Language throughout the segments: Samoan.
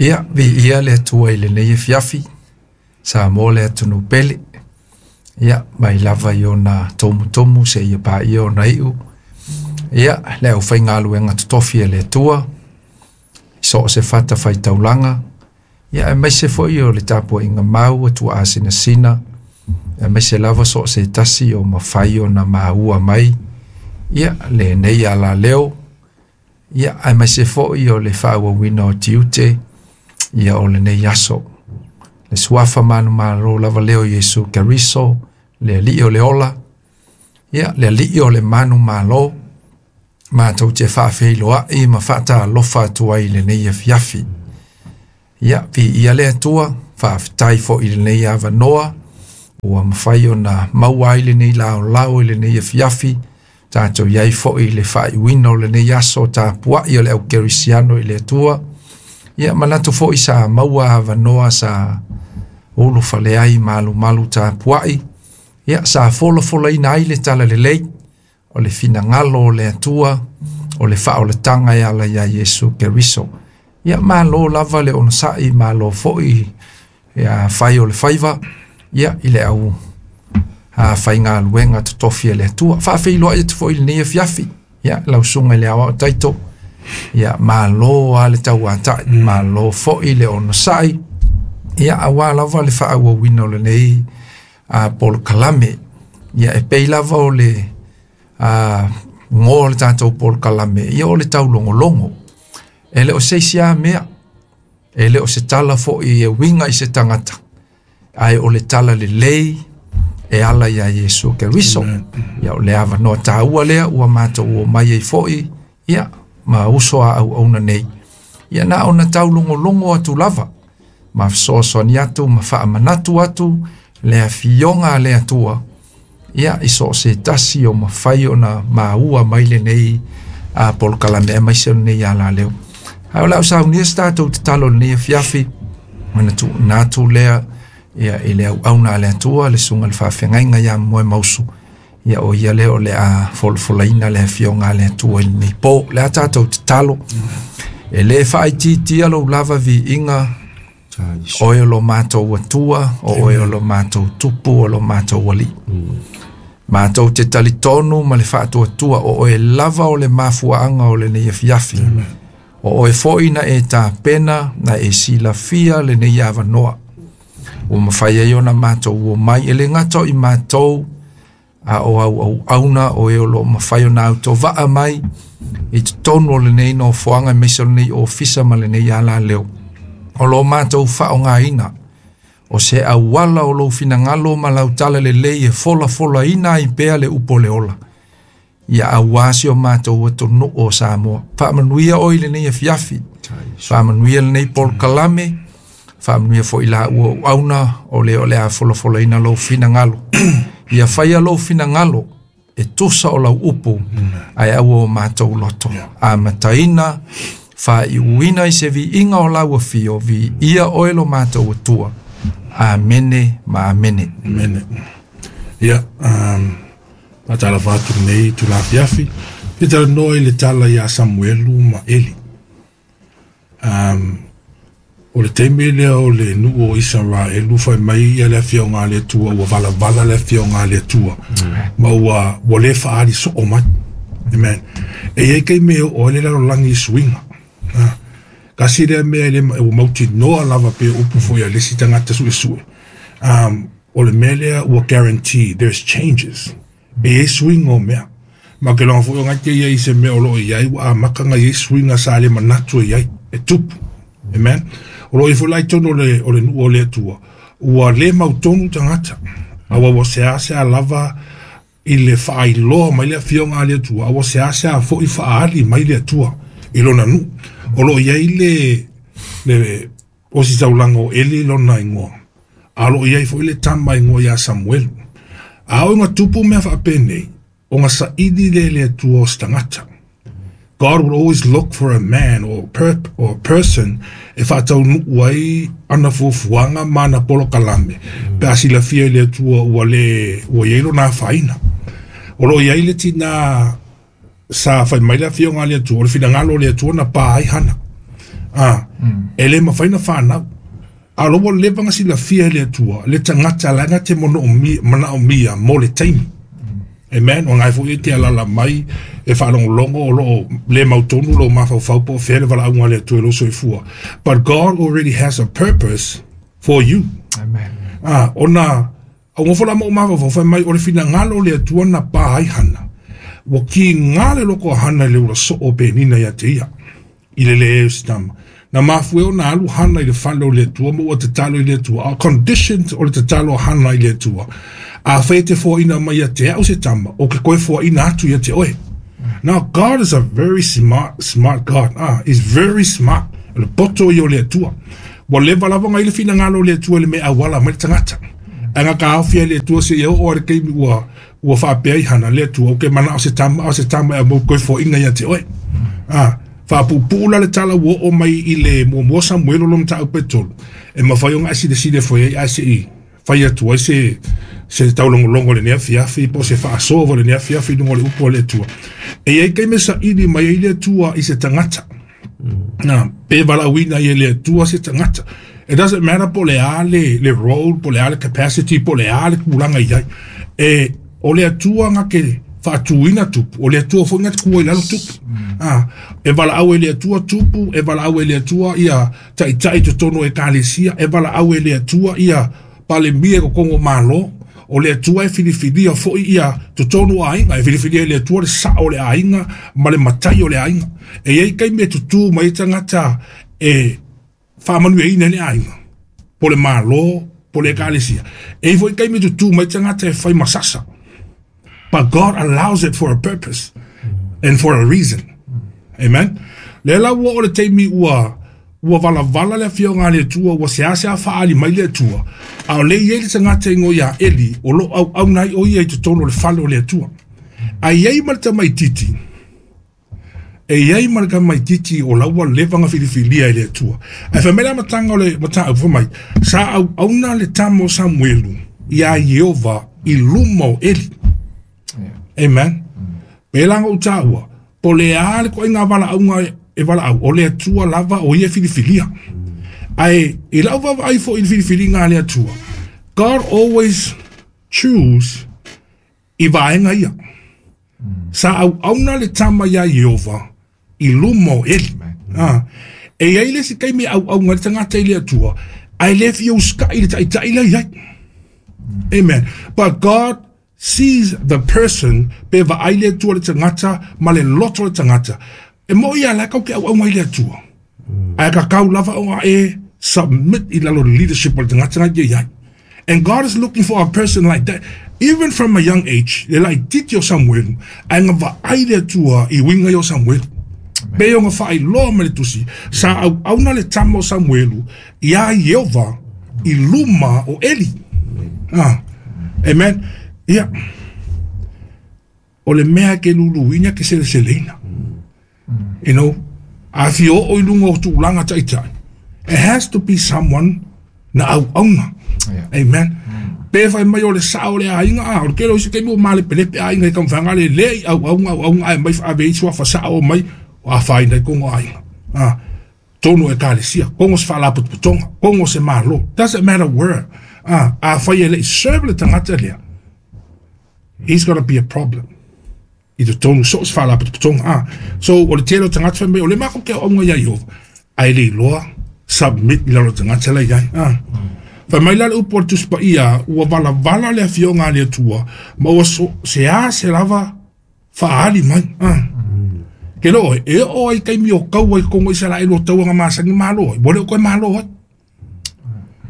Ia, viia le Atua i lenei afiafi, Samoa le atunuu pele. Ia, mai lava i ona tumutumu seia paia ona iu. Ia, le aufaigaluega totofi a le Atua, i so o se fatafaitaulaga, ia aemaise foi o le tapuaiga mau a tuaasinasina, aemaise lava so o se tasi o mafai ona maua mai ia lenei alaleo, ia aemaise foi o le faaauauina o tiute ia o lenei aso. Le suafa manumalo lava lea o Iesu Keriso, le Alii o le ola, ia le Alii o le manumalo, matou te faafeiloai ma faatalofa atu ai i lenei afiafi. Ia, viia le Atua, faafetai foi i lenei avanoa, ua mafai ona maua ai lenei laolao i lenei afiafi, tatou i ai foi i le faaiuina o lenei aso tapuai o le au kerisiano i le Atua. Ia manatu foi sa maua avanoa sa ulufale ai malumalu tapuai, ia sa folafolaina ai le talalelei o le finagalo o le Atua, o le faaolataga e ala iā Iesu Keriso. Ia malo lava le onosai, malo foi ia fai o le faiva, ia i le au faigaluega totofi a le Atua. Faafeiloai atu foi i lenei afiafi, ia lau susuga i le Aoao Taito, ia malo lava le tauatai, malo foi le onosai, ia aua lava le faaauauina o lenei polokalame. Ia e pei lava o le goa o le tatou polokalame, ia o le taulogologo. E le o se isi lava mea, e le o se tala foi e uiga i se tagata, ae o le tala lelei e ala iā Iesu Keriso. Ia o le avanoa taua lea ua matou omai ai foi, ia ma uso a auauna nei. Ia na ona taulogologo atu lava, ma fesoasoani atu ma faamanatu atu le afioga a le Atua, ia i so o se tasi o mafai ona maua mai lenei polokalame aemaise o lenei alaleo. Ae o le a ou saunia se tatou tatalo i lenei afiafi, ona tuuina atu lea ia i le auauna a le Atua, le susuga i le faafeagaiga ia Moemausu, ia o ia lea o le a folafolaina le afioga a le Atua i lenei po. O le a tatou tatalo, e le faaitiitia lou lava viiga, oe o lo matou Atua, o oe o lo matou Tupu, o lo matou Alii. Matou te talitonu ma le faatuatua o oe lava o le mafuaaga o lenei afiafi. O oe foi na e tapena, na e silafia lenei avanoa. Ua mafai ai ona matou omai, e le gata o i matou, a o au auauna o e o lo o mafai ona autovaa mai i totonu o lenei nofoaga aemaise o lenei ofisa ma lenei alaleo. O lo matou faaaogaina o se auala o lou finagalo ma lau tala lelei e folafolaina ai pea le upu o le ola. Ia aua si o matou atunuu o Samoa. Faamanuia oe i lenei afiafi. Faamanuia lenei polokalame. Faamanuia foi la ua auauna o le o le a folafolaina lou finagalo. Ia faia lou finagalo e tusa o lau upu, ae aua o matou loto. Amataina, faaiuina i se viiga o lau afio, viia oe lo matou Atua. Amene ma amene. Amene. Ia, faatalofa atu lenei itula afiafi. Fia talanoa i le tala ia Samuelu ma Eli. O le taimi lea o le nuu o Isaraelu fai mai ia le afioga a le Atua ua valavala le afioga a le Atua ma ua ua le faaali soo mai. Amen. E i ai taimi e oo ai le lalolagi i suiga. Tasi lea mea e le ua mautinoa lava pei o upu foi a le isi tagata suesue. O le mea lea ua guarantee there's changes. E i ai suiga o mea. Ma ou te iloa foi o na te i ai i se mea o lo o i ai ua amata ona i ai suiga sa le manatu e i ai, e tupu. Amen. O lo o i ai foi la i totonu o le, o le nuu o le Atua, ua le mautonu tagata. Aua ua seasea lava i le faailoa mai le afioga a le Atua, a ua seasea foi faaali mai le Atua i lona nuu. O lo o i ai le, le ositaulaga o Eli lona igoa, a o lo o i ai foi le tama igoa ia Samuelu. A oo ina tupu mea faapenei, ona saili lea e le Atua o se tagata. God will always look for a man or, per, or a person e faataunuu ai ana fuafuaga ma ana polokalame pe a silafia e le Atua ua le ua i ai lona afaina. O lo o i ai le tinā sa fai mai le afioga a le Atua, o le finagalo o le Atua na pa ai Hana. Ah, E le mafai ona fanau. A o la ua leva ona silafia e le Atua le tagata la e na te manaomia mo le taimi. Amen. O lena foi e te alaala mai e faalogologo o lo o le mautonu lou mafaufau po o fea le valaauga a le Atua i lou soifua. But God already has a purpose for you. Amen. Ah, ona Augofa la ma ou mafaufau fai mai o le finagalo o le Atua na pā ai Hana. Ua kīgā le loko a Hana i le ula soo o Penina iā te ia, i le leai o se tama. Na mafua ai ona alu Hana i le fale o le Atua ma ua tatalo i le Atua. A o conditions o le tatalo a Hana i le Atua, Afai e te foaina mai ia te au se tama, o ke koe foaina atu ia te oe. Now, God is a very smart, smart God. Ah, he's very smart. O le poto ia o le Atua. Ua leva lava ona i ai le finagalo o le Atua i le mea e auala mai le tagata. Ae na taofi ai le Atua seia oo lava i le taimi ua ua faapea ai Hana, Le Atua, ou te manao se tama, a o se tama e aumai ou toe foaiina ia te oe. A, faapuupuu la le tala ua oo mai i le muamua o Samuelu lona mataupu e tolu, e mafai ona e silasila ifo i ai ae se i fai atu ai se se taulogologo i lenei afiafi po o se faasoa foi i lenei afiafi i luga o le upu a le Atua. E i ai taimi e saili mai ai le Atua i se tagata. Na, pe valaauina ai e le Atua se tagata. It doesn't matter po o le a le, le role, po o le a le capacity, po o le a le tulaga i ai. E, o le Atua na te faatuina tupu, o le Atua foi na te tua i lalo tupu. Ah, e valaau e le Atua tupu, e valaau e le Atua ia taitai i totonu o ekalesia, e valaau e le Atua ia Palemia i totonu o Malo, o le Atua e filifilia foi ia totonu o aiga, e filifilia e le Atua le sao o le aiga ma le matai o le aiga. E i ai taimi e tutū mai ai tagata e faamanuiaina ai le aiga, po o le Malo, po o le ekalesia. E i ai foi taimi e tutū mai tagata e fai masasa. But God allows it for a purpose and for a reason. Amen. Lea la ua oo le taimi ua ua valavala le afioga a le Atua, ua seasea faaali mai le Atua, a o lea e i ai le tagata e igoa ia Eli, o lo o auauna ai o ia i totonu o le fale o le Atua. A i ai ma le tamaitiiti, e i ai ma le tamaitiiti o la ua leva ona filifilia e le Atua. Ae fai mai le amataga o le mataupu, fai mai, sa auauna le tama o Samuelu iā Ieova i luma o Eli. Amen. Pēlā na ou tāua, po o le a le ituaiga valaauga e valaau, o le Atua lava o ia e filifilia. Ae i lau vaavaai foi i le filifiliga a le Atua, God always choose i vaega ia. Sa auauna le tama iā Ieova i luma o Eli. Ah, e i ai le isi taimi e auauna ai le tagata i le Atua, ae le fia usitai i le taitai la i ai. Amen. But God sees the person, pe vaai le Atua i le tagata ma le loto o le tagata. E moʻi lava la e tatou te auauna ai i le Atua. Ae tatau lava ona e submit i lalo o le leadership o le tagata na i ai. And God is looking for a person like that. Even from a young age, le laitiiti o Samuelu, ae na vaai le Atua i uiga ia o Samuelu. Pei ona faailoa mai le tusi, sa auauna le tama o Samuelu iā Ieova i luma o Eli. Ah, amen. Ia, o le mea e ke luluina ke seleseleina. You know, a fia oo i luga o tulaga taitai, it has to be someone na auauna. Yeah. Amen. Pe fai mai o le sao o le aiga, a o le tele o isi taimi ua malepelepe aiga i taumafaiga le le i auauna auauna ae mai faave ai suafa sao mai o afaina ai koga aiga. Ah, tonu o ekalesia, kogo se faalapotopotoga, kogo se Malo, doesn't matter where. Ah, afai e le i serve le tagata lea, he's gonna be a problem. I totonu so o se faalapotopotoga. Ah, so o le tele o tagata fai mai o le makou te auauna iā Ieova, ae le iloa submit i lalo o le tagata la i ai. Ah. Fai mai la le upu a le Tusi Paia, ua valavala le afioga a le Atua, ma ua so, sease lava faaali mai. Ah. Ke loo, e oo ai taimi o taua i totonu o Isaraelu o taua na masani malo ai, ua le o toe malo ai.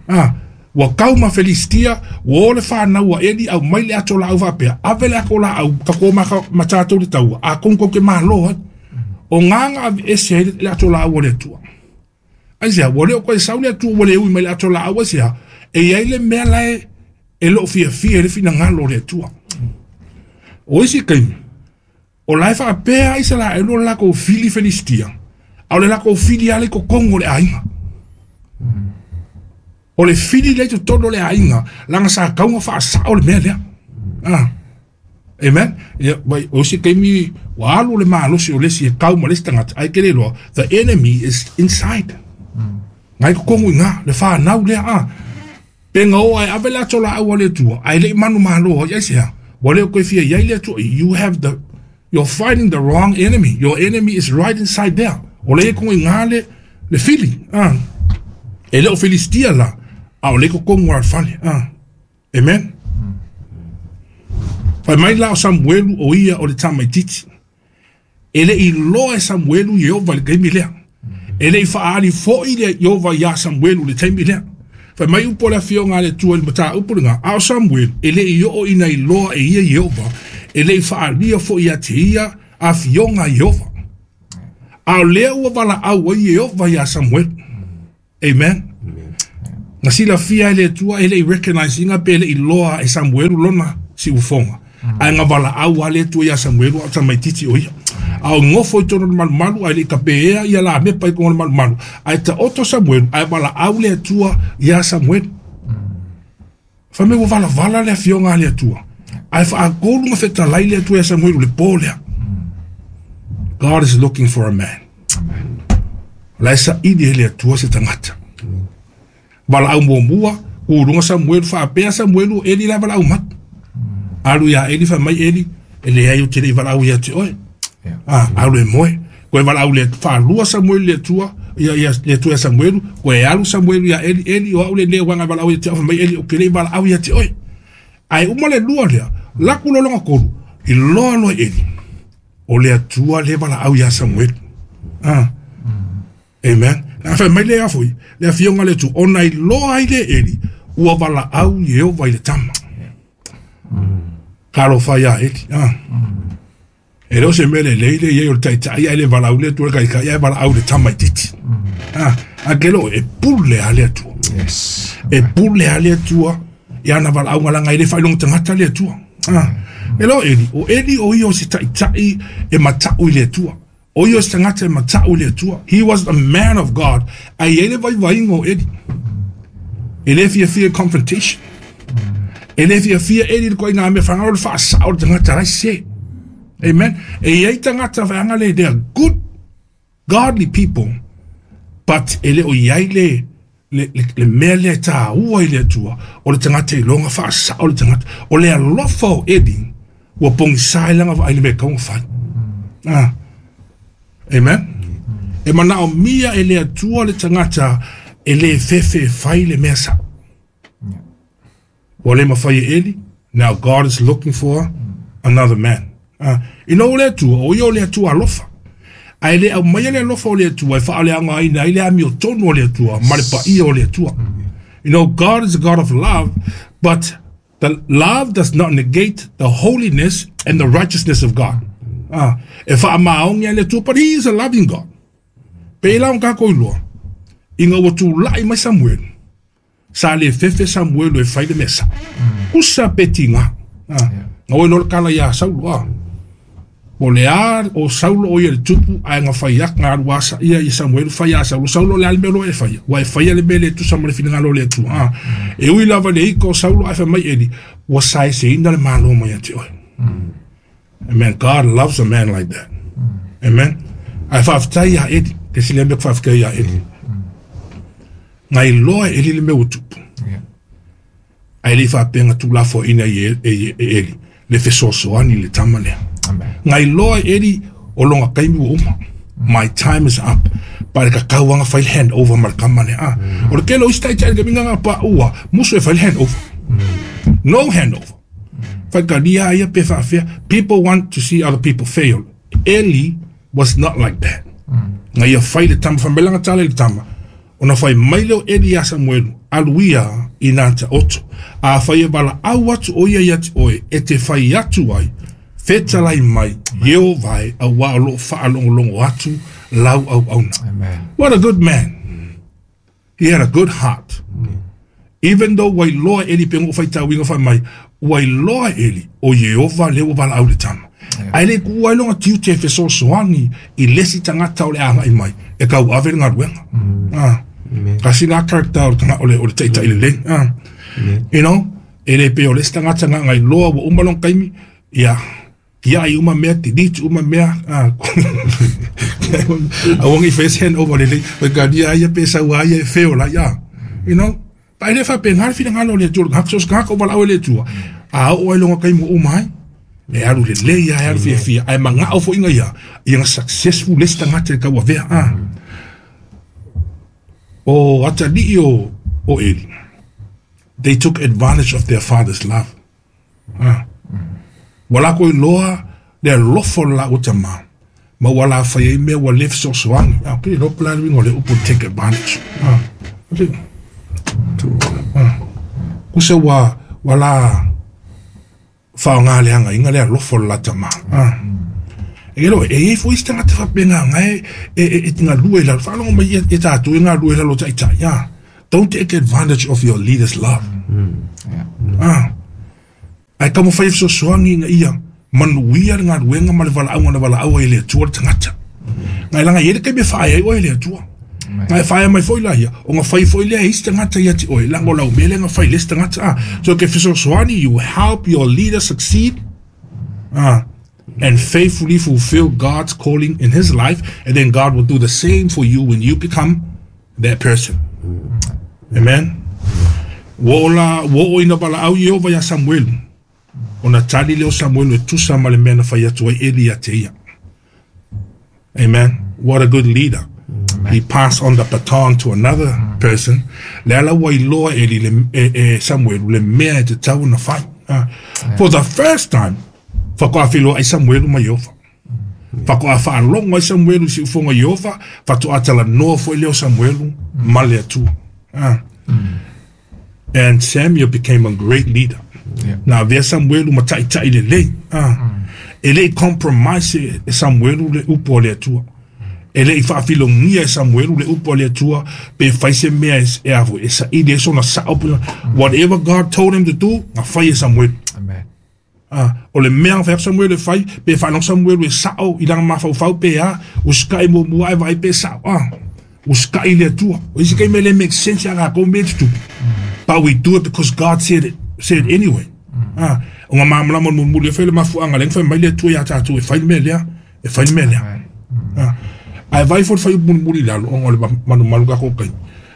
Ah, ua kau ma Felistia, ua o le fanau a Eli, aumai le ato laau faapea, ave le ato laau, tatou o ma, ma tatou le taua, atonu tou te malo ai. O gā na aveese ai le ato laau a le Atua. Aisea, ua le o toe sau le Atua ua le ui mai le ato laau, aisea, e i ai le mea la e, e le o fiafia i le finagalo o le Atua. O isi taimi, O la e faapea Isaraelu o le latou fili Felistia, a o le latou fili lava lea i totonu o le aiga. O le fili lea i totonu o le aiga, leaga sa tatau ona faasao le mea lea. Ah. Amen. Ia, vai, o isi taimi, ua alu le malosi o le isi e kau ma le isi tagata, ae ke le iloa, the enemy is inside. Ngai kokogu i ngā, le whānau lea a. Pe ngā o ai ave le ato la au le tua, ai le manu malo ai se ha. Wa le koe fia iai le tua, you have the, you're fighting the wrong enemy. Your enemy is right inside there. O le kongo i ngā le, le fili, a. E le o Filistia la, a o le kokogu a fale, a. Amen. Fai mai la o Samuelu o ia o le tamaititi. E le i loa e Samuelu Ieova le taimi lea. E le i whaali fo i le Ieova ia Samuelu le taimi lea. Fai mai upo le afioga a le Atua i le mataupu lena, a o Samuelu, e le i oo ina iloa e ia Ieova, e le i faalia foi ia te ia afioga a Ieova. A o lea ua valaau ai Ieova ia Samuelu. Amen. Na silafia e le Atua e le i recognize ina pe le i loa e Samuelu lona siufoga. Ae na valaau a le Atua ia Samuelu a o tamaititi o ia. A o ngofo i tonu le malumalu ai le i kapea ia la mepa i kongo le malumalu. Ae ta oto Samuelu ae valaau le Atua ia Samuelu. Fai mai ua valavala le afioga a le Atua. Ae faatolu na fetalai le Atua ia Samuelu le po lea. God is looking for a man. La e saili e le Atua se tagata. Valaau muamua, uluga Samuelu, faapea Samuelu, Eli la valaau mai. Alu ia Eli, fai mai Eli, e leai ou te le i valaau ia te oe. Ah, alu e moe. Koe valaau le faalua Samuelu le Atua, ia ia le Atua ia Samuelu, koe alu Samuelu ia Eli, Eli o au lenei uaga e valaau ia te oe, fai mai Eli, ou te le i valaau ia te oe. Ae uma le lua lea, laku loa lona tolu, i loa loa Eli, o le Atua le valaau ia Samuelu. Ah. Amen. Na fai mai le afoi, le afioga le Atua, ona iloa ai le Eli, ua valaau Ieova i le tama. Talofa ia Eli. Ah. E le o se mea lelei le iai o le taitai ae le valaau le Atua le taitai ae valaau le tamaititi. Ah, a ke lo e pule a le Atua. Yes. E pule a le Atua i ana valaauga laga e le faailoga tagata le Atua. Ah, e lo Eli, o Eli o ia o se taitai e matau i le Atua. O ia o se tagata e matau i le Atua. He was a man of God. Ae i ai le vaivaiga o Eli. E le fiafia i confrontation. E le fiafia Eli i le koina mea whangaro le whaasao le tagata lai se. Amen. E i ai tagata whaanga le, they are good, godly people, but e le o iai le, le, le, le mea lea e tāua i le Atua, o le tagata i longa whaasao le tagata. O le alofa o Eli, ua pogisa ai lana vaai i le mea e tatau ona fai. Ah. Amen. E manaomia e le Atua le tagata e le fefe e fai le mea sao. Ua le mafai e Eli. Now God is looking for another man. Ah, ina o le Atua, o ia o le Atua alofa. Ae le aumaia le alofa o le Atua e faaleaogaina ai le amiotonu o le Atua ma le paia o le Atua. You know, God is a God of love, but the love does not negate the holiness and the righteousness of God. Ah, e faamaogia le Atua, but he is a loving God. Pei la ona tatou iloa, ina ua tulai mai Samuelu, sa le fefe Samuelu e fai le mea sao. Usa pe tiga. Ah, na oi loa le tala ia Saulo, ah. O le a o Saulo o ia le tupu ae na fai atu na alu asa ia i Samuelu fai a Saulo. Saulo le a le mea loa e faia. Ua e faia le mea le tusa ma le finagalo o le Atua. Ah. E ui lava le ika o Saulo ae fai mai Eli, ua saeseina le Malo mai ia te oe. Amen. God loves a man like that. Amen. Ae faafetai ia Eli. Ke sili ai mea ku faafetai ia Eli. Ngai loa e Eli le mea ua tupu. Ae le i faapea na tuulafoaiina ai e, e, e Eli le fesoasoani i le tama lea. Amen. Ngai loa e Eli o lona taimi ua uma. My time is up. Pa le tatau anga fai le handover ma le tama lea. Ah. O le tele o isi taitai le taimi nga pa ua musu e fai le handover. No handover. Faitalia ia pe faafea. People want to see other people fail. Eli was not like that. Nga ia fai le tama, fai mai lana tala i le tama. Ona fai mai lea o Eli ia Samuelu, alu ia i nā taoto. A fai e valaau atu o ia ia te oe, e te fai atu ai, fetalai mai, Ieova e, auā o loo faalogologo atu lau auauna. Amen. What a good man. He had a good heart. Even though ua iloa e Eli pe ngo faitauina fai mai, ua iloa e Eli o Ieova lea ua valaau i le tama. Ae le kuua ai lona tiute e fesoasoani i le isi tagata o le agai mai e tauave le galuega. Ah. Kasi la character o le tanga o le o le taitai lelei. Ah. You know, e le pei o le isi tagata na ngai loa ua uma lona taimi, ia. Tiai uma mea, delete uma mea. Aua nei faia se handover lelei. Faitalia ia pe sau lava ia e feola ai a. You know? But e le faapena le finagalo o le Atua i le tagata, so o se tagata o valaau e le Atua, a oo lava i lona taimi ua uma ai, e alu lelei lava, e alu fiafia, ae manao foi ina ia, ia na successful le isi tagata i le tauavea. A. O atalii o, o Eli, they took advantage of their father's love. Ah. Ua lakou iloa le alofa o le laua tamā, ma ua alafai ai mea ua le fesoasoani. Ah, okay, iloa po o le a le uiga o le upu take advantage. Ah, okay. Ah. Kusa ua, ua la faaaoga leagaina le alofa o le la tamā. Ah. E iloa, e i ai foi isi tagata faapena na e, e, e, e galue i lalo. Faalogo mai ia, ia tatou e galue i lalo o taitai. Ah. Don't take advantage of your leader's love. Ah. Ae taumafai e fesoasoani ina ia manuia le galuega ma le valaauga na valaau ai e le Atua le tagata. Ngai laga e i ai le taimi e faaea ai oe e le Atua. Ngai e faaea mai foi la ia, ona fai foi lea e isi tagata ia te oe, laga o lau mea lea na fai i le isi tagata. Ah. So e te fesoasoani, you help your leader succeed. Ah. And faithfully fulfill God's calling in his life, and then God will do the same for you when you become that person. Amen. Ua oo la, ua oo ina valaau Ieova iā Samuelu, ona tali lea o Samuelu e tusa ma le mea na fai atu ai Eli ia te ia. Amen. What a good leader. He passed on the baton to another person. Le ala ua iloa Eli le, e, e Samuelu le mea e tatau ona fai. Ah. For the first time, faatoa feiloai Samuelu ma Ieova. Faatoa faalogo ai Samuelu i siufoga o Ieova, faatoa talanoa foi lea o Samuelu ma le Atua. Ah. And Samuel became a great leader. Yeah. Na avea Samuelu ma taitai lelei. Ah. E le i compromise e Samuelu le upu a le Atua. E le i faafilogia e Samuelu le upu a le Atua pe fai se mea e, e a foi, e saili ai sona sao. Whatever God told him to do, na fai e Samuelu. Amen. Ā, o le mea na fai atu Samuelu e fai, pe faalogo Samuelu e sao i lana mafaufau pe a, usikai muamua ae vaai pe sao, ā, usikai i le Atua. O isi taimi e le make sense iā latou mea e tutupu, but we do it because God said it, said it anyway. Ā, o ngā malamalama o le mulimuli e fai le mafuaaga lea na fai mai le Atua iā tatou e fai le mea lea, e fai le mea lea. Ā, ae vaai foi le fuaiupu mulimuli i lalo, ona o le malumalu tatou taimi.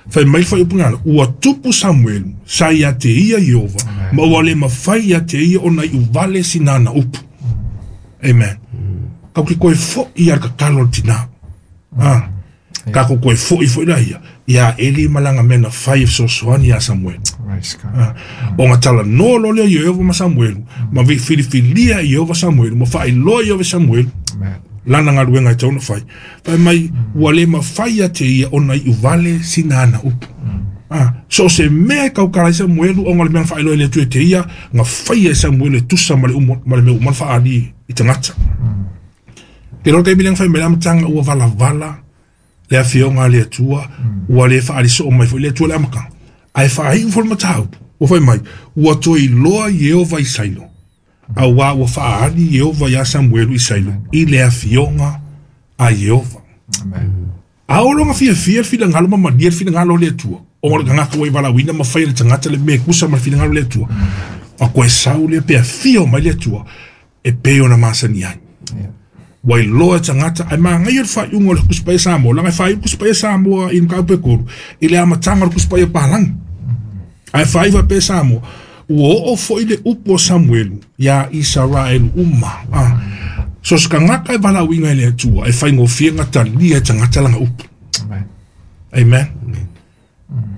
Fai mai le fuaiupu lalo, ua tupu Samuelu, sa ia te ia Ieova, ma ua le mafai ia te ia ona iuvale sina ana upu. Amen. Kau ke koe foʻi ia le tatalo a le tinā. Ah. Ka ko koe foʻi foi la ia, iā Eli ma lana mea na fai e fesoasoani iā Samuelu. Ah. Ona talanoa loa lea o Ieova ma Samuelu, ma filifilia e Ieova Samuelu, ma faailoa Ieova i Samuelu, lana galuega e tatau ona fai. Fai mai, ua le mafai ia te ia ona iuvale sina ana upu. Ah, so o se mea e tautala ai Samuelu ona o le mea na faailoa e le Atua ia te ia, na faia e Samuelu e tusa ma le umu, ma le mea uma na faaali i tagata. Te iloa le taimi lea na fai mai le amataga ua valavala le afioga a le Atua, ua le faaali soo mai foi le Atua i le amataga. Ae faaiu foi le mataupu, ua fai mai, ua toe iloa Ieova i Sailo. Auā ua faaali Ieova iā Samuelu i Sailo i le afioga a Ieova. A o lona fiafia le finagalo ma malie le finagalo o le Atua, ona o le tagata ua i valaauina ma fai e le tagata le mea e tusa ma le finagalo o le Atua, a koe sau lea pe afio mai le Atua e pei ona masani ai. Ua iloa e tagata, ae manaia le faaiuga o le Tusi Paia Samoa, leaga e faaiu le Tusi Paia Samoa i le mataupu e tolu, i le amataga o le Tusi Paia Palagi. Ae faaiu faapea Samoa, ua oo foi le upu a Samuelu iā Isaraelu uma. A, so se tagata e valaauina e le Atua, e faigofie ona talia e tagata lana upu. Amen. Amen.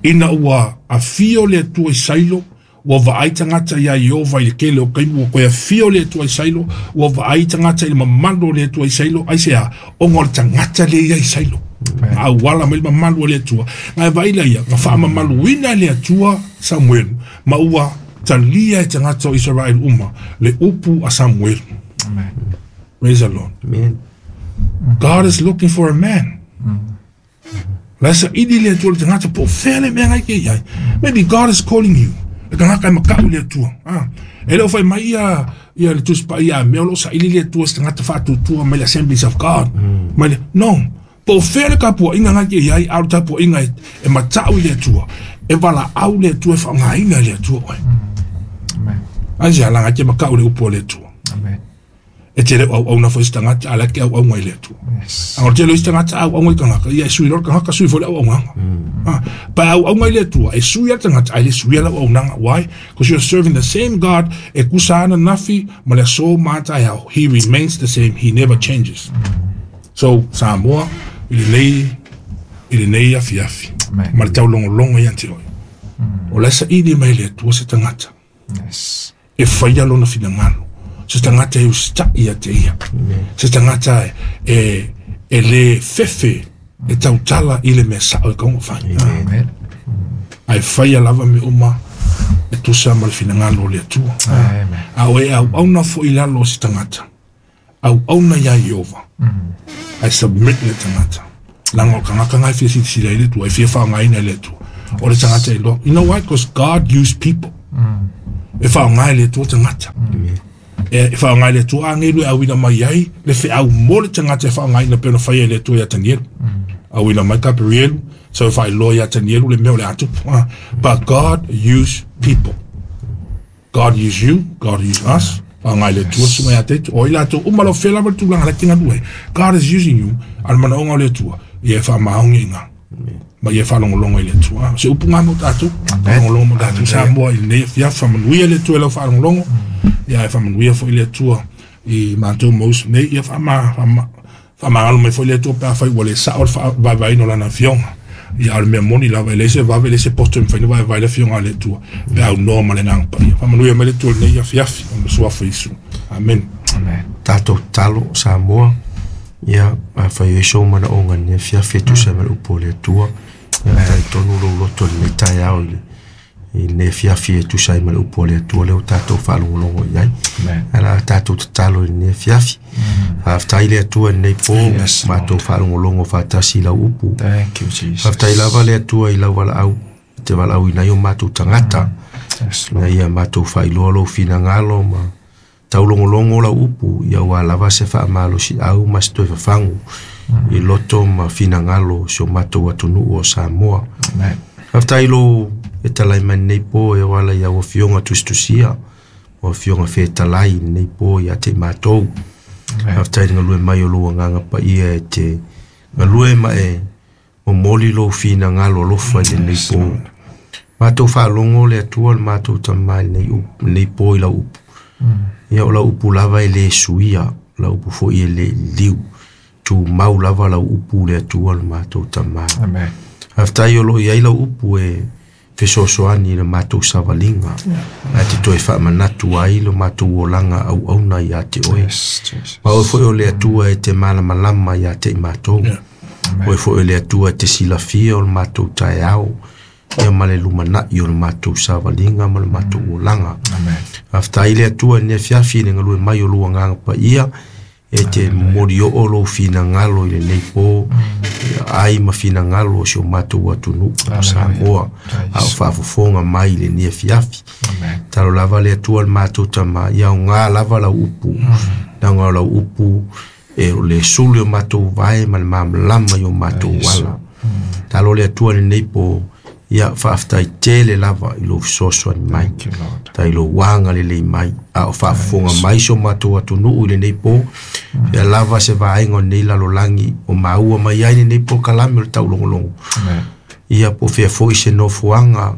Ina ua afio le Atua i Sailo, ua vaai tagata iā Ieova i le tele o taimi, ua toe afio le Atua i Sailo, ua vaai tagata i le mamalu o le Atua i Sailo, aisea? Ona o le tagata lea e i ai i Sailo. Na auala mai le mamalu o le Atua. Na e vaai laia, na faamamaluina e le Atua Samuelu, ma ua talia e tagata o Isaraelu uma le upu a Samuelu. Amen. Praise the Lord. Amen. God is looking for a man. La e saili le Atua i le tagata po o fea le mea ngai ke i ai. Maybe God is calling you. Le tagata e makau i le Atua. Ah. E le o fai mai ia ia le Tusi Paia a mea o lo o saili le Atua i se tagata faatuatua mai le Assemblies of God. Mai le, no. Po o fea le tapuaiga ngai ke i ai, a o le tapuaiga e, e matau i le Atua. E valaau le Atua e faaaogaina e le Atua oe. Amen. Aisea, laga e te makau i le upu a le Atua. Amen. E te le auauna foi se tagata, a o la e te auauna i le Atua. A o le tele o isi tagata a auauna i tagata, ia e sui loa le tagata, sui foi le auaunaga. Pe a auauna i le Atua, e sui lava le tagata, ae le suia le auaunaga. Why? Because you're serving the same God e kusa ananafi ma le aso ma a taeao. He remains the same, he never changes. So, Samoa, i lenei, i lenei afiafi, ma le taulogologo ia te oe, o la e saili mai e le Atua se tagata. Yes. E faia lona finagalo. Se tagata e usitai ia te ia. Se tagata e, e le fefe e tautala i le mea sao e kaunga fai. Amen. Ae faia lava mea uma e tusa ma le finagalo o le Atua. Amen. A o e auauna foi i lalo o se tagata, auauna iā Ieova, ae submit le tagata. Leaga o le tagata lena e fia silasila ai le Atua, e fia faaaogaina e le Atua. O le tagata e iloa. You know why? Because God use people. E faaaoga e le Atua tagata. E faaaoga e le Atua agelu e auina mai ai le feau mo le tagata e faaaogaina pei ona faia e le Atua ia Tanielu. Auina mai Kaperielu, sau e faailoa ia Tanielu le mea o le a tupu. But God use people. God use you, God use us. Whangai le Atua susuga ia te Atua. O i latou uma lau fea lava le tulaga la e te galue ai. God is using you, a o le manaoga o le Atua, ia e faamaoni i ina. Ma ia e faalogologo i le Atua. O se upu ngā mo tatou. Faalogologo mo tatou Samoa i lenei afiafi. Faamanuia le Atua i lau faalogologo. Ia e faamanuia foi le Atua i matou ma uso nei. Ia faama, faama, Faamagalo mai foi le Atua pe afai ua le sao le faavaevaeina o Lana Afioga. Ia, a o le mea moni lava, e leai se vave, e leai se poto e mafai ona vaevae le Afioga a le Atua pe a aunoa ma le Agaga Paia. Faamanuia mai le Atua i lenei afiafi, ona Suafa Iesu. Amene. Amen. Tatou tatalo, Samoa, ia, afai o i ai sou manaoga i lenei afiafi e tusa ai ma le upu a le Atua, ia, talitonu lou loto i lenei taeao i le i lenei afiafi e tusa ai ma le upu a le Atua lea ua tatou faalogologo i ai. Ae la tatou tatalo i lenei afiafi. Faafetai le Atua i lenei po, Yes, matou faalogologo faatasi i lau upu. Thank you, Jesus. Faafetai lava le Atua i lau valaau, e te valaauina ai o matou tagata, Yes, ina ia matou faailoa lou finagalo ma taulogologo lau upu, ia aua lava se faamalosiau ma se toe fafagu i loto ma finagalo o si o matou atunuu o Samoa. Amen. Faafetai lou fetalai mai lenei po e ala i au afioga tusitusia, o afioga fetalai i lenei po ia te i matou. Faafetai i le galue mai o lou agaga paia e te galue ma e momoli lou finagalo alofa i lenei po. Matou faalogo le Atua le matou Tama i lenei upu, lenei po i lau upu. Ia o lau upu lava e le suia, o lau upu foi e le liliu. Tumau lava lau upu le Atua le matou Tama. Amen. Faafetai o lo o i ai lau upu e fesoasoani i le matou savaliga, ae te toe faamanatu ai lo matou olaga auauna ia te oe. Yes, Jesus. Ma oe foi o le Atua e te malamalama ia te i matou. Oe foi o le Atua e te silafia o le matou taeao, ia ma le lumanai o le matou savaliga ma le matou olaga. Amen. Faafetai le Atua i lenei afiafi i le galue mai o lou agaga paia, e te momoli oo lou finagalo i lenei po, ia ai ma finagalo o si o matou atunuu o Samoa, a o faafofoga mai i lenei afiafi. Amen. Talo lava le Atua le matou Tama, ia aoga lava lau upu, leaga o lau upu e o le sulu i o matou vae ma le malamalama i o matou ala. Talo le Atua i lenei po, ia faafetai tele lava i lou fesoasoani mai. Thank you, Lord. Tai lou agalelei mai, a o faafofoga mai si o matou atunuu i lenei po, fea lava se vaega o lenei lalolagi o maua mai ai lenei polokalame o le taulogologo. Amen. Ia po o fea foi se nofoaga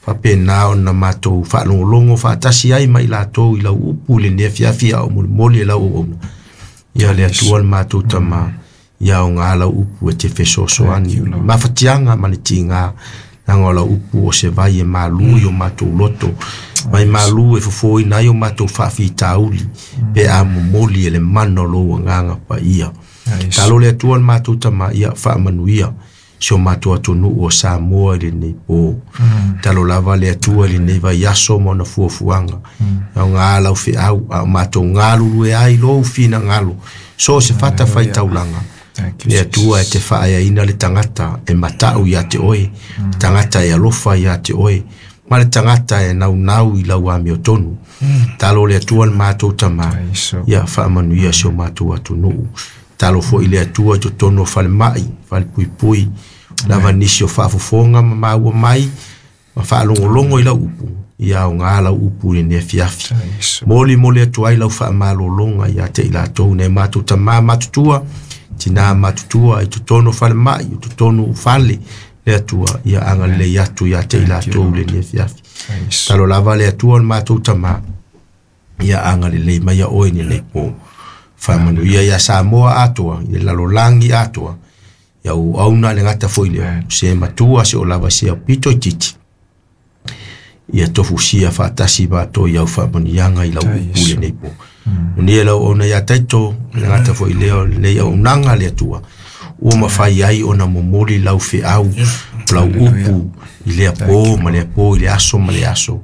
faapena ona matou faalogologo faatasi ai ma i latou i lau upu i lenei afiafi a o molimoli e lau auauna. Ia le Atua le matou Tama, ia aoga lau upu e te fesoasoani i le mafatiaga ma le tiga, leaga o lau upu o se vai e malu i o matou loto, vai malu e fofoina ai o matou faafitauli, pe a momoli e le mana o lou agaga paia. Talo le Atua le matou Tama, ia faamanuia si o matou atunuu o Samoa i lenei po. Talo lava le Atua i lenei vaiaso ma ona fuafuaga. Aoga lau feau, a o matou galulue ai lou finagalo, so o se fatafaitaulaga. Thank you, Le Atua e te faaeaina le tagata e matau ia te oe, tagata e alofa ia te oe, ma le tagata e naunau i lau amiotonu. Talo le Atua le matou Tama, ia faamanuia si o matou atunuu. Talo foi le Atua i totonu o falemai, falepuipui, lava nisi o faafofoga ma maua mai, ma faalogologo i lau upu. Ia aogā lau upu i lenei afiafi. Molimoli atu ai lau faamalologa ia te i latou nai matou tamā matutua, tinā matutua i totonu o falemai, i totonu o fale, le Atua, ia agalelei atu ia te i latou i lenei afiafi. Talo lava le Atua o le matou tamā, ia agalelei mai ia oe i lenei po. Faamanuia ia Samoa atoa, i le lalolagi atoa, ia ou auna le gata foi lea, se matua se o lava se au pito i titi. Ia tofusia faatasi matou i au faamanuiaga i lau upu i lenei po. Manuia lau auauna ia Taito, le gata foi lea o lenei auaunaga le Atua, ua mafai ai ona momoli lau feau, lau upu i lea po ma lea po, i le aso ma le aso.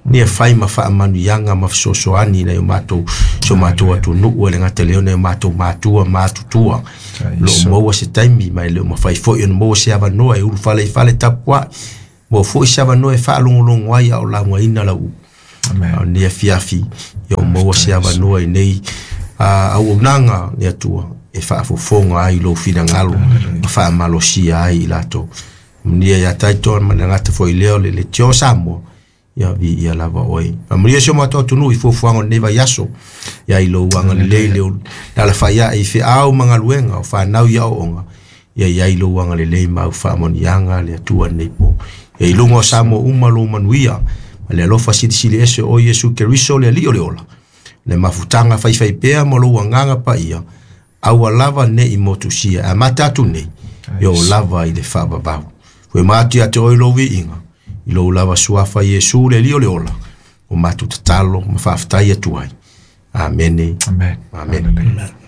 Ina ia fai ma faamanuiaga ma fesoasoani i nai o matou, si o matou atunuu, e le gata i lea o nai o matou matua ma matutua. O lo o maua se taimi, ma e le o mafai foi ona maua se avanoa e ulufale i fale tapuai, maua foi se avanoa e faalogologo ai a o laugaina lau upu. A o lenei afiafi, ia o maua se avanoa i nei auaunaga le Atua e faafofoga ai lou finagalo ma faamalosia ai i latou. Manuia ia Taito ma le gata foi lea o le Leitio Samoa, ia viia lava oe. Faamanuia si o matou atunuu i fuafuaga o lenei vaiaso, ia i lou agalelei le alafai ae i feau ma galuega o fanau i aoaoga, ia i ai lou agalelei ma au faamanuiaga le Atua lenei po. Ia i luga o Samoa uma lou manuia, ma le alofa silisili ese o Iesu Keriso le Alii o le ola, le mafutaga faifaipea ma lou agaga paia, aua lava ne i motusia, e amata atu nei, e oo lava i le faavavau. Fue ma atu ia te oe lou viiga, i lou lava suafa Iesu le Alii o le ola, o matou tatalo ma faafetai atu ai. Amene. Amen. Amen. Hallelujah.